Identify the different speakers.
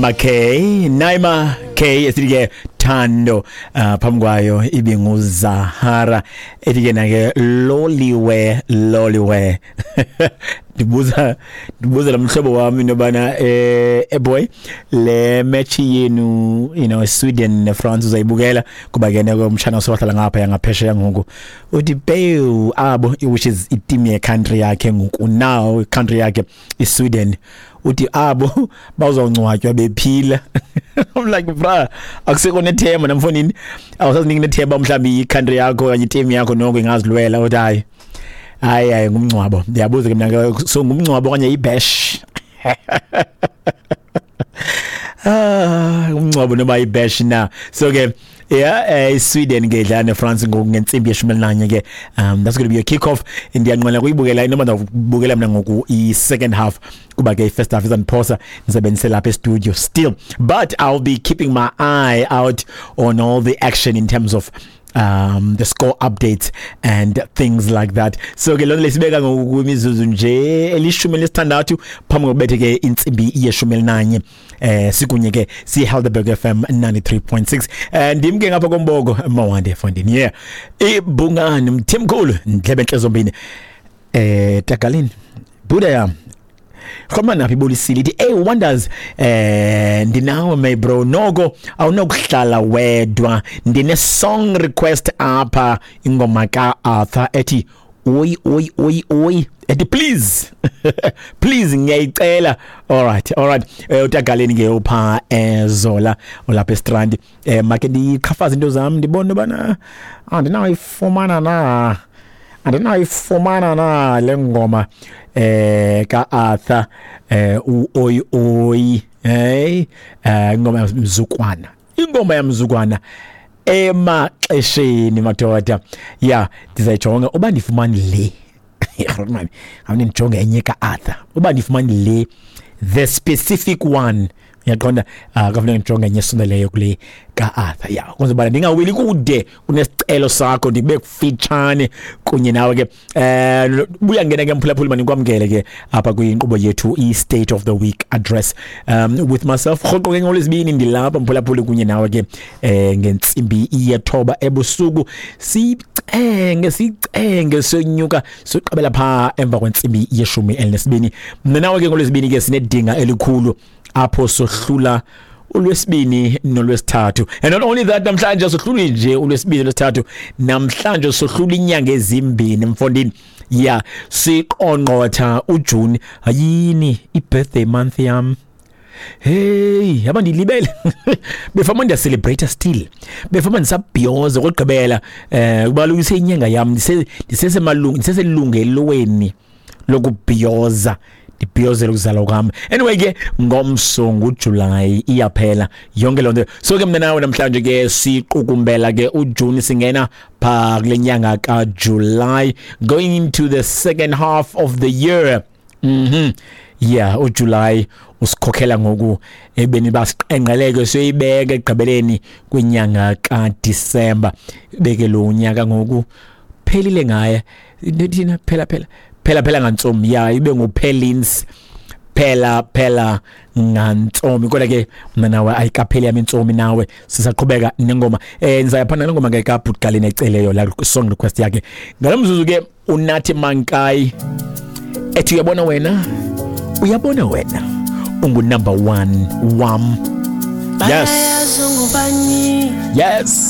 Speaker 1: K Naima K esithi ke Thando phambi kwayo ibinguZahara ethi ke nake Loliwe Loliwe. Ndibuza lo mhlobo wami into yobana boy, le match yenu, Sweden neFrance, uzayibukela? Kuba ke noko umtshana usewahlala ngapha yangaphesheya ngoku, uthi pew abo, which is iteam ye-country yakhe ngoku, now country yakhe iSweden, uthi abo bazawungcwatywa bephila. I'm like, bra, akusekho nethemba namfonini, awusaziniki nethemba mhlawumbi i-country yakho okanye iteam yakho noko ingazilwela. Uthi hayi hayi hayi, ngumngcwabo. Ndiyabuza ke mna ke, so ngumngcwabo okanye ibash? Ah, umngcwabo noma ibash na? So ke yeah, Sweden ke idlala neFrance ngoku ngentsimbi ye-11 ke. That's going to be a kick off. Ndiyanqwela kuyibukela, noma ndawubukela mina ngoku i-second half, kuba ke i-first half izandiphosa, ndisebenzise lapha e-studio still, but I'll be keeping my eye out on all the action in terms of the score updates and things like that. So ke lona lesibeka ngokwimizuzu nje eli-16 phambi kokubethe ke intsimbi ye-11. Sikunye ke si Helderberg FM 93.6. Ndim ke ngapha komboko Mawande Fondini, yeah, ibungani Mthimkhulu ndlebe enhle zombini. Tagalini Buda yam Khoma naphi ibolisile ithi, "Hey Wonders, ndinawe my bro, noko awunokuhlala wedwa. Ndine song request apha, ingoma ka Arthur ethi oi oi oi oi, ethi please please, ngiyayicela." All right, utagaleni ke upha ezola olapha eStrand. Make ndiqhafaza into zami, ndibone bana andinayifumana na, andinayifumana na le ngoma ka Arthur, uOi oi. Hey, ingoma yamzukwana, ingoma yamzukwana emaxesheni madoda. Ya, ndizayijonga uba ndifumane le man, awune ndijonge enye ka Arthur, uba ndifumane le, the specific one, uyaqonda? Kafuneka ndijonge enye esondeleyo kule ka-Arthur, ya, kwenza uba ndingaweli kude kunesicelo sakho, ndibe kufitshane kunye nawe ke. Buya ngena ke mphulaphuli, manikwamkele ke apha kwinkqubo yethu i-State of the Week Address with myself. Rhoqo ke ngolwezibini ndilapha mphulaphuli kunye nawe ke ngentsimbi ye-9 ebusuku, sicenge sicenge sonyuka soqabela pha emva kwentsimbi ye-12. Mna nawe ke ngolwezibini ke sinedinga elikhulu apho sohlula ulwesibini nolwesithathu. And not only that, namhlanje sohluli nje ulwesibini nolwesithathu, namhlanje sohlula inyanga ezimbini mfondini. Ya, siqongqotha uJune. Hayini, i-birthday month yam. Hey, yaba ndilibele. Befama ndiya celebrate still. Befama ndisabhiyoza kokugqibela, kuba kaloku inyanga yam, ndisesemalungu, ndiseselungelweni lokubhiyoza, ndibhiyozela ukuzalwa kwam. Anyway ke ngomso nguJuly, iyaphela yonke loo nto. So ke mna nawe namhlanje ke siqukumbela ke uJune, singena pha kule nyanga kaJuly, going into the second half of the year. Yeah, uJuly usikhokhela ngoku ebeni basiqenqeleke siyoyibeka ekugqibeleni kwinyanga kaDisemba, beke lo unyaka ngoku phelile ngaye. Thina phela phela phela phela ngantsomi, ya, ibe nguphelins phela phela ngantsomi. Kodwa ke mna nawe ayikapheli yami intsomi, nawe sisaqhubeka nengoma. Ndizaya phana nengoma ke kaBhutgaleni eceleyo la song request yakhe ngalomzuzu ke uNathi Mankayi ethi uyabona wena, uyabona wena ungu number 1 wam. Yes.